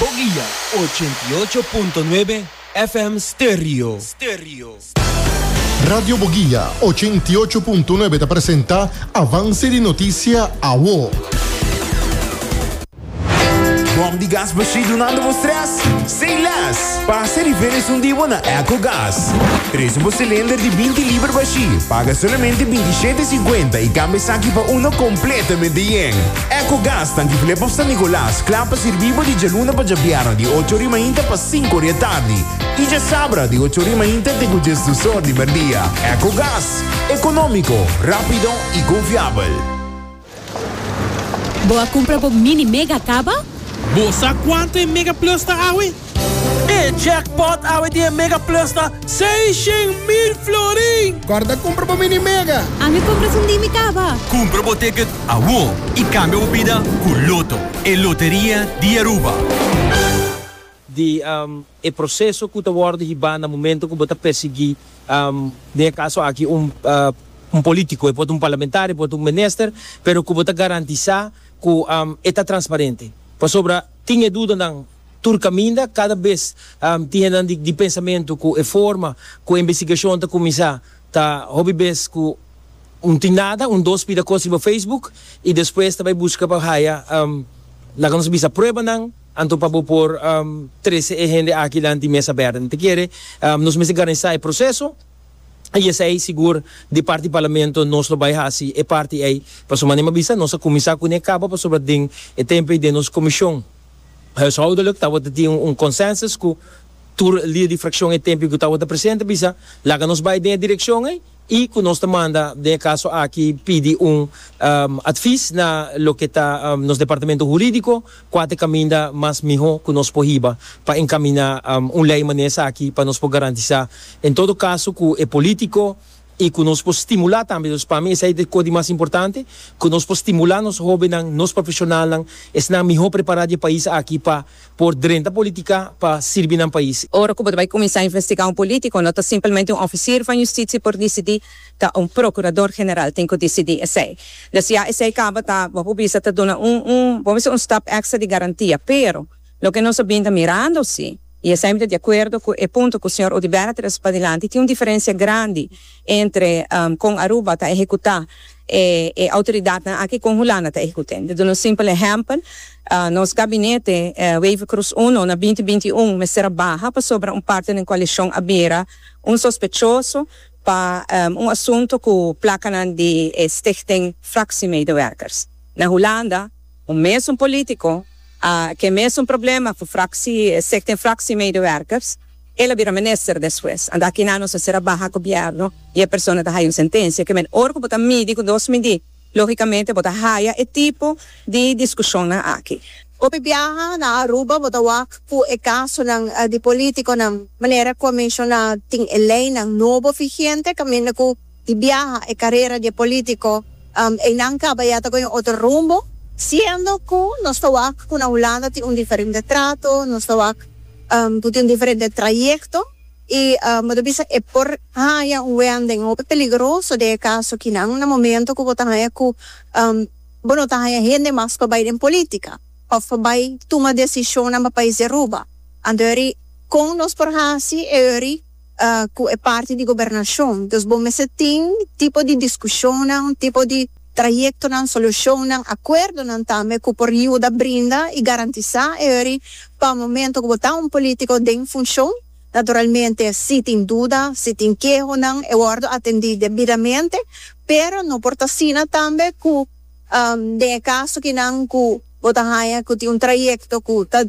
Boguia 88.9 FM Stereo. Radio Boguia 88.9 ta presenta Avance di Noticia Awo. Bom di gas bashí dunando bo stress? Say less! Pasa riba esun di bo na Ecogas. Trese bo cilinder di 20 liber bashí, paga solamente 27,50 y cambia esaki pa uno completamente yen. Ecogas tanki Flip of San Nicolas, kla pa sirbi bo di djaluna pa djabièrnè di ocho ori mainta pa sinku ori atardi y djasabra di ocho ori mainta te ku djesdus or di merdia. Ecogas, economico, rapido y confiabel. Bo a cumpra bo mini mega caba? Bo sa cuanto e Mega Plus ta awe? E jackpot awe di e Mega Plus ta 600,000 florin! Corda cumpra bo mini mega! Ami cumpra esun di mi caba! Cumpra bo ticket awo y cambia bo bida cu Lotto, e loteria di Aruba. Di e proceso cu ta wordo hiba na momento cu bo ta persegui, den e caso aki un un politico, e por ta un parlamentario, e por ta un minister, pero cu bo ta garantisa cu e ta transparente. Pasobra tin e dudanan tur caminda, cada bes tin hendenan di pensamento cu e forma cu e investigacion ta cuminsa ta hopi bes cu un tin nada, un dos pida cos riba Facebook y despues ta bay busca pa haya, laga nos bisa pruebanan, Anto pa bo por trece e hende aki lanti mesa berde. Mi ta kere nos mester garantisa e proceso y esey sigur di parti Parlamento nos lo bay haci e parti ey. Pasobra manera mi a bisa nos a cuminsa cune caba pasobra den e tempo ey den nos comision huishoudelijk tabata tin un consensus cu tur lider di fraccion e tempo ey cu tabata presente a bisa laga nos bay den e direccion ey. y cu nos ta manda den e caso aki pidi un advies na loke ta nos departamento huridico cua ta e caminda mas miho cu nos por hiba pa encamina un ley manera esaki pa nos por garantisa en todo caso cu e politico y cu nos por stimula tambe, dus pa mi esey ta e cos di mas importante, cu nos por stimula nos hobennan, nos profesionalnan, esnan miho prepara di e pais aki pa por drenta politica pa sirbi nan pais. Ora cu bo ta bay cuminsa investiga un politico, no ta simplemente un oficier van justitie por dicidi, ta un procurador general tin cu dicidi esey. Dus ya esey caba ta, bo por bisa, ta duna un, un, bo bisa un stap extra di garantia. Pero, loke nos a bin ta mirando si, y esey mi ta di acuerdo cu e punto cu señor Oduber a trece padilanti, tin un diferencia grandi entre con Aruba ta ehecuta e e autoridadnan aki con Hulanda ta ehecut'e. Mi ta duna un simpel ehempel, nos gabinete Wever-Croes uno na binti binti i un mester a baha pasobra un parte den coalicion a bira un sospechoso pa un asunto cu placanan di e Stichting Fractiemedewerkers. Na Hulanda un mesun politico a ke mesun problema cu fractie Stichting Fractiemedewerkers, El a bira minister despues. Anda akinan nos a ser a baha gobierno y e persona ta haya un sentencia. Ke men ora cu bo ta midi cu dos midi, logicamente bo ta haya e tipo di discusionnan aki. Hopi biaha na Aruba bo ta wak cu e casonan di politiconan manera cu a menciona tin e leynan nobo vigente caminda cu di biaha e carera di e politico eynan caba ya ta coge un otro rumbo siendo cu nos ta wak cu na Hulanda tin un diferente trato, nos ta wak Bo tin un diferente trayecto y bo ta bisa e por haya un wending hopi peligroso den e caso kinan na momento cu bo ta haya cu bo no ta haya hende mas pa bay den politica of pa bay tuma decisionnan pa pais di Aruba. Anto eri con nos por haci e eri cu e parti di gobernacion. Dus bo mester tin tipo di discusionnan, tipo di trayectonan, solucionnan, acuerdonan tambe cu por yuda brinda y garantisa e ori pa momento cu bo ta un politico den funcion. Naturalmente si tin duda, si tin kehonan e wordo atendi debidamente, pero no por ta asina tambe cu den e caso kinan cu bo ta haya cu tin un trayecto cu ta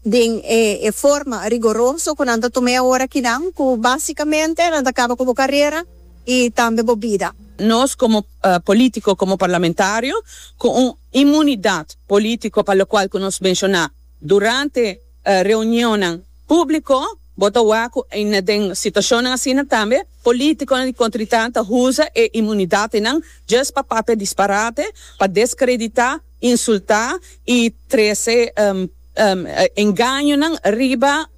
den e forma rigoroso cu nan ta tum'e awor akinan cu basicamente nan ta caba cu bo carera y tambe bo bida. Nos como politico, como parlamentario, cu un inmunidad politico pa locual cu nos menciona durante reunionnan publico, bo ta wak cu den situacionnan asina tambe politiconan di contritan ta usa e inmunidadnan just pa papia disparate, pa descredita, insulta y trece. engañonan riba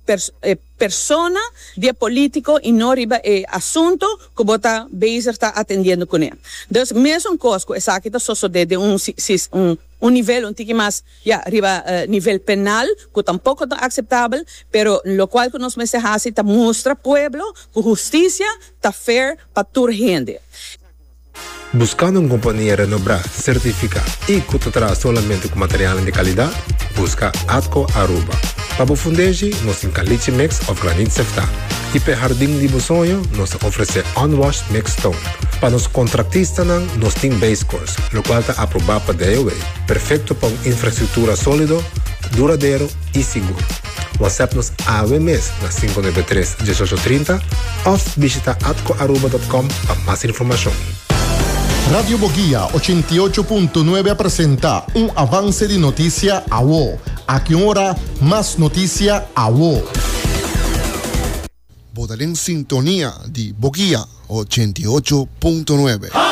e persona di e politico y no riba e asunto cu bo ta bezig ta atendiendo cune. Dus mesun cos cu esaki ta sosode den un un nivel un tiki mas ya riba nivel penal cu tampoco ta aceptabel, pero locual cu nos mester haci ta mustra pueblo cu husticia ta fair pa tur hende. Buscando un compania renobrá, certificá y cu ta traha solamente cu materialnan di calidad? Busca Atco Aruba. Pa bo fundeshi, nos tin caliche mix of granit seftá. Y p'e hardin di bo soño, nos ta ofrecé unwashed mixed stone. Pa nos contractistanan, nos tin base course, locual ta aprobá pa DOW, perfecto pa un infrastructura solido, duradero y sigur. WhatsApp nos awe mes na 593 1830 of bishita atcoaruba.com pa mas informacion. Radio Boguia 88.9 a presenta un avance di noticia awo. Aki un ora, mas noticia awo. Bo ta den sintonia di Boguia 88.9.